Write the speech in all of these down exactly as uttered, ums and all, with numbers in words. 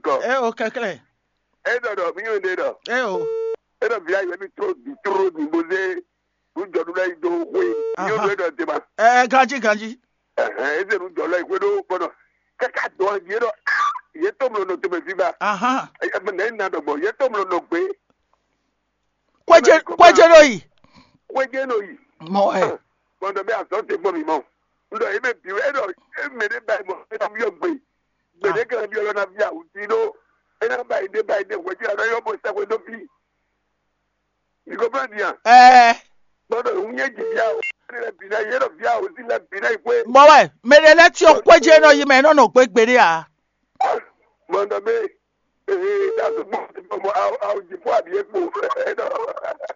kɔ. E o kɛklɛ. E ɖɔ ɖɔ mi yɔn ɖe ɖɔ. E o. E ɖɔ via yɔ mi tró di tró di bo zé nu jɔ nu lɛ yi do xwe. Mi yɔn ɖe ɖɔ tema. Ɛ ganji ganji. Ɛhɛn, e zé nu jɔ lɛ yi xwe ɖo kpɔnɔ. Kaka dɔn yi ɖɔ ye to mlɔ nɔ tɛmɛ fi ba. Ahan. Ɛ nɛ na ɖɔ gbɔ ye to mlɔ nɔ gbe. Kwedze kwedze ɖo yi. Xwe jɛ nɔ yi. Mɔ ɛ. Gbɔndɔ bɛ azɔ te gbɔ mi mɔ. N ɖɔ eme bi e ɖɔ eme ɖe ba yi mɔ e na mi yɔ gbe. Gbe ɖe kɛlɛ bi ɔlɔ na vi awu ti ɖo. E na ba yi ɖe ba yi ɖe hwɛ ti la na yɔ bo sɛ hwe ɖo fi. Mi ko plan dia. Ɛ. Gbɔdɔ ŋun nye dzi bia o. Ne lɛ bi na ye ɖɔ bia o si lɛ bi na yi kwe. Mɔ wɛ mɛ ɖe lɛ tiɔ kwedze nɔ yi mɛ nɔ nɔ gbegbe ɖe a. Gbɔdɔ be ee da so gbɔ gbɔ awo awo dzi fɔ abi ekpo. Ɛdɔ.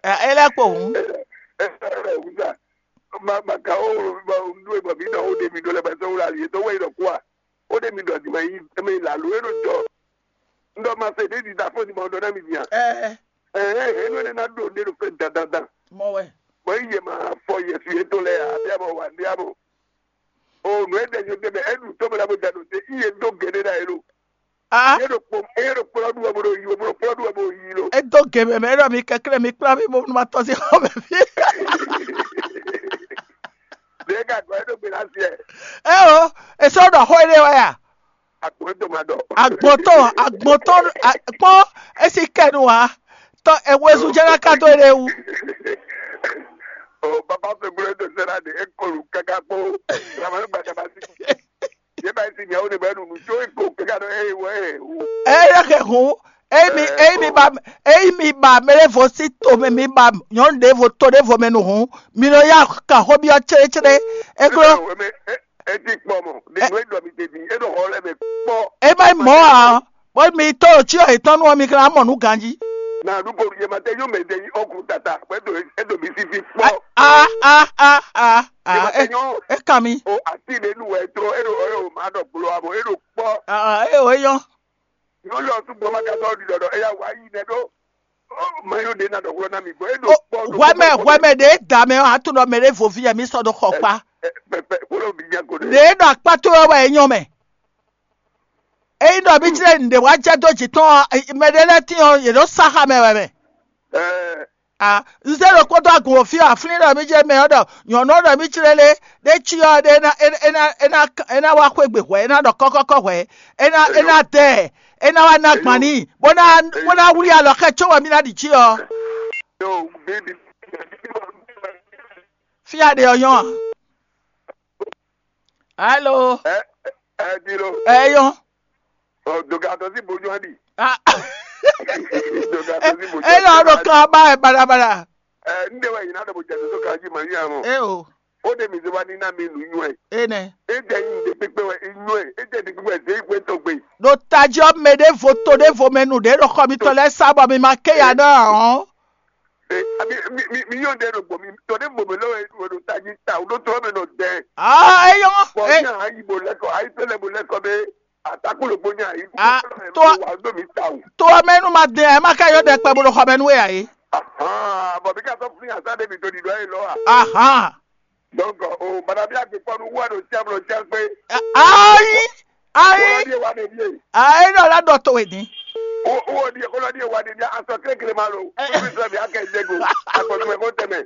Ɛ e lɛ kpo hun. Ɛdɔ wusa. Ma ma ka o ma nu e bɔ mi dɔ o de mi do lɛ bɛ sɔ wula li e dɔ wɛ yi dɔ kua. O de mi dɔ di ma yi mi la lo e do jɔ. N dɔ ma se de di da fɔ di ma o dɔ na mi dia. Ɛ Ɛɛ enu ne na ɖo ne ɖo fɛn dandandan. mɔ wɛ. Bɔn yi yɛ ma fɔ yɛ fi yɛ to lɛ a bia bɔ wa bia bɔ. O nu e de nyo de mɛ enu to mɛ la bo da do te iye do gɛnɛ da yɛ lo. Ah, Yɛ do kpɔ yɛ do kplɔ du wɛ bo do yi o bo do kplɔ du wɛ bo yi lo. Edo gɛmɛ mɛ ɖɔ mi kɛklɛ mi kpla mi bo ma tɔ si xɔ mɛ fi. Ne ka gɔ yɛ do gbe la siɛ. Ɛ o, esɔ ɖɔ xɔ ɖe wɛ ya. Akpɔ to ma dɔ. Agbɔtɔ agbɔtɔ kpɔ esi kɛnu wa. Tɔ ewezu jɛ na ka do ɖe wu. O baba fɛ gbolo do sɛ na de e kɔlu kaka kpo. Lama ne gbadaba si. Ye ba si nya o ne ba nu nu tso e ko kaka do e wɛ e wu. Eye ke hun eyi mi eyi mi ba eyi mi ba mele vo si to mɛ mi ba nyɔnu ɖevo to ɖevo mɛ nu hun mi nɔ ya ka xɔ biɔ tsɛtsɛ eklo. Eme eti kpɔ mɔ de nu e dɔ mi te di e dɔ xɔ lɛ mɛ kpɔ. E ma mɔ a bɔ mi to tsi ɔ etɔn nu mi kana mɔ nu ganji. Na du ko ye ma te yo mɛ de yi ɔku tata kpɛ do e do mi si fi kpɔ. Ah ah ah ah Ye ma ah. te nyɔ E kan mi. O ati de nu wɛ tro e do e o ma dɔ gblo abo e do kpɔ. Ah e o eyɔn. Yóò lọ tún gbọmọ kẹtọ di dọdọ ẹyà wá yí nẹ dó. Mayó de náà dọ̀gbọ́n náà mi gbọ́. Èdò pọ̀ ló Hwɛmɛ hwɛmɛ ɖe da mɛ a to nɔ mɛ ɖe vovi yɛ mi sɔ do xɔ kpa. Pẹpẹ kúrò mi jẹ kò dé. Ɖe nɔ akpatɔ wɛ wɛ nyɔ mɛ. Eyi nɔ bi tsirɛ nɖe wa jɛ do dzi tɔn mɛ ɖe lɛ ti ɔ yɛ ɖo saxa mɛ wɛ mɛ. Ẹ Ah, nze ɖo kpɔtɔ agun wò fi aflin ɖɔ mi dze mɛ ɔ ɖɔ nyɔnu ɖɔ mi tsirɛ le ɖe tsi ɔ ɖe ena ena ena ena wa xwe gbe hwɛ ena ɖɔ kɔkɔkɔ hwɛ ena ena dɛ ena wa na gban ni bona bona wuli alɔ xɛ tso wɔ mi na ɖi tsi ɔ. Yóò bíbí. Fia ɖe ɔ yɔn a? Alo, Ẹ ẹ di lo. Ɛ yɔn. Dògà tó sí bojú á di. Ah. Dògà tó sí bojú á di. Ɛ yɔ ɖo kan ba ɛ balabala. Ẹ ń dẹ́wọ̀ yìí náà dọ̀bọ̀ jẹ́ tó ká jí màá yà mọ̀. Ɛ o, Ó dé mi ti wá ní náà mi nù yún ẹ̀. Ɛ nɛ. É jẹ́ yín ìdè pípẹ́ wẹ̀ inú ẹ̀. É jẹ́ ìdè pípẹ́ ẹ̀ dé ìwé tó gbé. Ɖo taji ɔ mɛ ɖe vo to ɖe vo mɛ nu ɖe ɖo xɔ mi tɔ lɛ sa bɔ mi ma ke ya ɖɔ ɔn. Ẹ àbí mi mi mi yóò dé rògbò mi tọ́ dé mò mi lọ́wọ́ ẹ̀ ló ta yín ta ò ló tọ́ mi nọ dẹ́. Ah, ɛ yɔ. Bọ̀ Ɛ ní àyè bò lẹ́kọ̀ọ́ àyè tẹ́lẹ̀ bò lẹ́kọ̀ọ́ bẹ́ẹ̀ àtàkùn ló gbóyè àyè. Ah, Tó tó- wà ló mi ta o. To ɔ mɛ nu ma dɛ ɛ ma ka yɔ dɛ kpɛ bo ɖo xɔ mɛ nu ɛ ayi. Bọ̀ bí ká sọ fún yàtọ̀ débi tó di dọ́ yìí lọ́wọ́. Ahan. Donc, o bana bí agbègbè nu wà ló tiẹ́ ló tiẹ́ pé. Ayi. Ayi. Kọ́lọ́dí wa de bíyè. Ayi nɔ la dɔ to edi. Wọ́n di kọ́lọ́dí wa de bíyà aṣọ kékeré máa lò. Fúnfún sọ bí akẹ́ jẹ́gò. Àkọsílẹ̀ kó tẹ̀mẹ̀.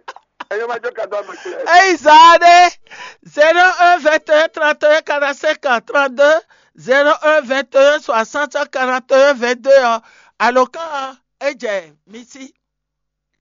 Ẹ̀yọ́ máa jọ kàdó àmọ̀ sílẹ̀. Eyi zaa ɖe zéro un vingt et un trente et un quarante-cinq trente-deux, zéro un vingt et un soixante quarante et un vingt-deux ɔ, alo kan ɔ, e jɛ mi si.